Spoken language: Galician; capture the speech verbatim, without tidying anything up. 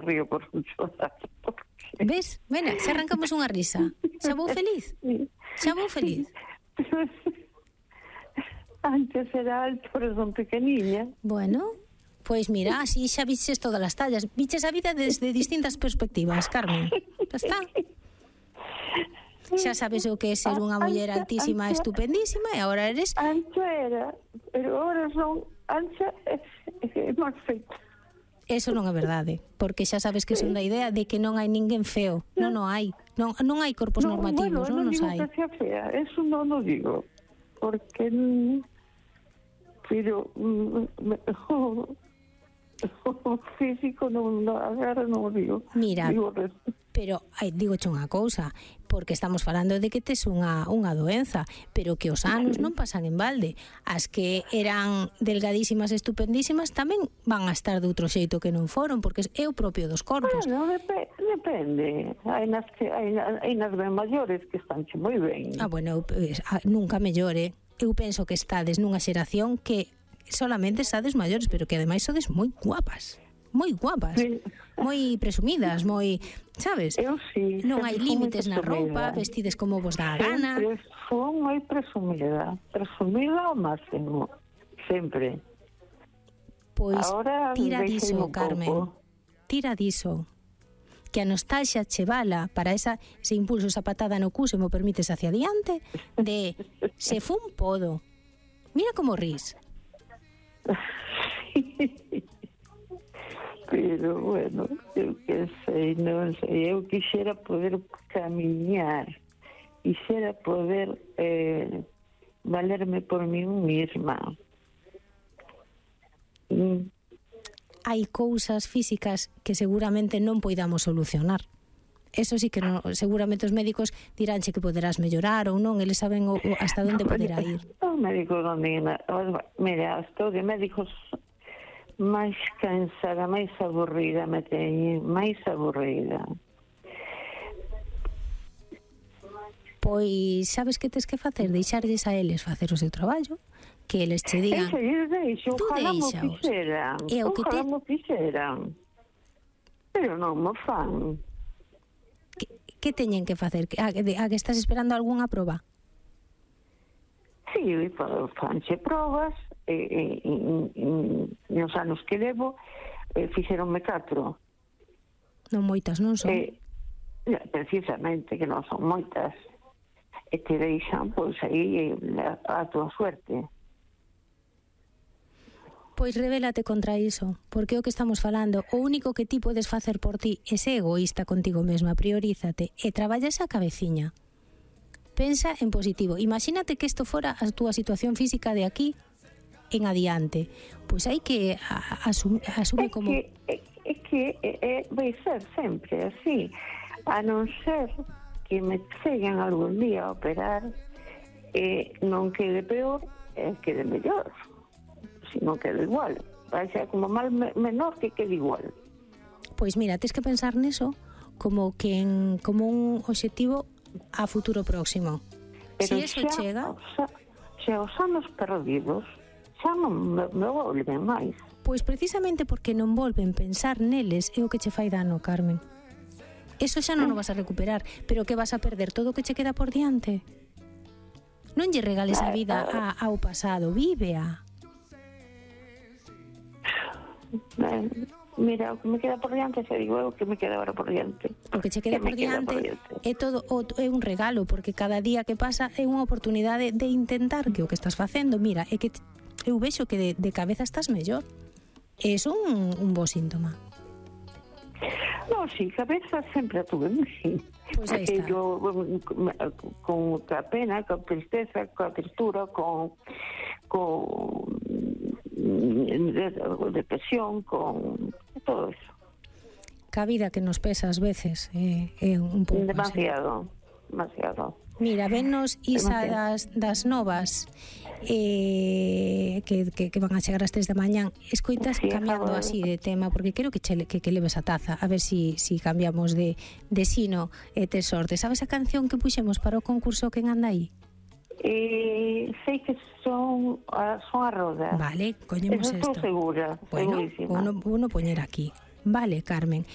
río por chorar. Ves? Vena, se arrancamos unha risa. Xa vou feliz? Xa vou feliz? Antes era alto, pero son pequeniña. Bueno, pois mira, así xa viches todas as tallas. Viches a vida desde distintas perspectivas, Carmen. Xa está. Xa sabes o que é ser unha muller altísima, ancha, estupendísima, e agora eres... Ancha era, pero agora son ancha e, e máis feita. Eso non é verdade, porque xa sabes que son da idea de que non hai ninguén feo. Non, non hai. Non, non hai corpos no, normativos, bueno, non nos hai. Non digo que sea fea, eso non o digo. Porque... Pero... O físico non, agora non o digo. Mira, digo pero ai, digoche unha cousa, porque estamos falando de que tes unha, unha doenza, pero que os anos non pasan en balde. As que eran delgadísimas, estupendísimas, tamén van a estar de outro xeito que non foron, porque é o propio dos corpos. Bueno, dep depende. Hai nas, que, hai, hai nas ben maiores que están moi ben. Ah, bueno, pues, nunca mellore. Eu penso que estades nunha xeración que solamente estades maiores, pero que ademais sodes moi guapas. Moi guapas, sí. Moi presumidas, moi, sabes? Eu sí. Non hai límites na roupa, vestides como vos dá a gana. Sempre son moi presumida, presumida ao máximo, sempre. Pois ahora tira diso, Carmen, pouco. Tira diso. Que a nostalgia che vala para esa, ese impulso, esa patada no cu, se mo permites hacia adiante, de se fun podo. Mira como rís. Pero, bueno, eu que sei, non sei, eu quixera poder camiñar, quixera poder eh, valerme por mí mesma. Mm. Hai cousas físicas que seguramente non poidamos solucionar. Eso sí que non, seguramente os médicos diránche que poderás mellorar ou non, eles saben o, o hasta onde poderá ir. Os médicos non digan, mira, estou de médicos máis cansada, máis aburrida me teñen, máis aburrida. Pois sabes que tes que facer? Deixarlles a eles facer o seu traballo, que eles che digan... Ese eles deixo, ojalá mo fixeran, ojalá mo fixeran, pero non mo fan. Que, que teñen que facer? A, a que estás esperando algunha proba? Sí, fanche probas, e, e, e, e nos anos que levo eh, fixeronme catro. Non moitas, non son? Eh, precisamente, que non son moitas. E te deixan, pois, aí a, a tua suerte. Pois rebélate contra iso, porque é o que estamos falando. O único que ti podes facer por ti é ser egoísta contigo mesma, priorízate e traballa esa cabeciña. Pensa en positivo. Imagínate que isto fora a túa situación física de aquí en adiante. Pois hai que asumir asume é como... Que, é, é que é, é, vai ser sempre así. A non ser que me cheguen algún día a operar, eh, non quede peor, eh, quede mellor. Si non quede igual. Vai ser como mal me, menor que quede igual. Pois mira, tens que pensar neso como que en, como un obxectivo a futuro próximo. Pero si eso xa, chega... Xa, xa os anos perdidos xa non me, me volven máis. Pois precisamente porque non volven pensar neles é o que che fai dano, Carmen. Eso xa non o vas a recuperar, pero que vas a perder todo o que che queda por diante. Non lle regales a vida a, ao pasado, vívea. Mira, o que me queda por diante, xa digo eu que me queda ahora por diante. O que che queda, por diante, queda por diante é todo o, é un regalo, porque cada día que pasa é unha oportunidade de intentar que o que estás facendo, mira, é que eu vexo que de, de cabeza estás mellor. É un, un bo síntoma. No, sí, cabeza sempre a tuve, sí. Pois aí está. Yo, con a pena, con tristeza, con tristura, con con depresión, con todo eso. Que a vida que nos pesa ás veces é, é un pouco demasiado, así. demasiado. Mira, venos Isa das, das novas eh, que, que, que van a chegar ás tres da mañán. Escoitas sí, cambiando así de tema, porque quero que, che, que, que leves a taza, a ver si, si cambiamos de, de sino e te sorte. Sabes a canción que puxemos para o concurso que anda aí? Eh, sei que son a, son a roda. Vale, coñemos esta. Estou segura, bueno, segurísima. Bueno, bueno poñer aquí. Vale, Carmen.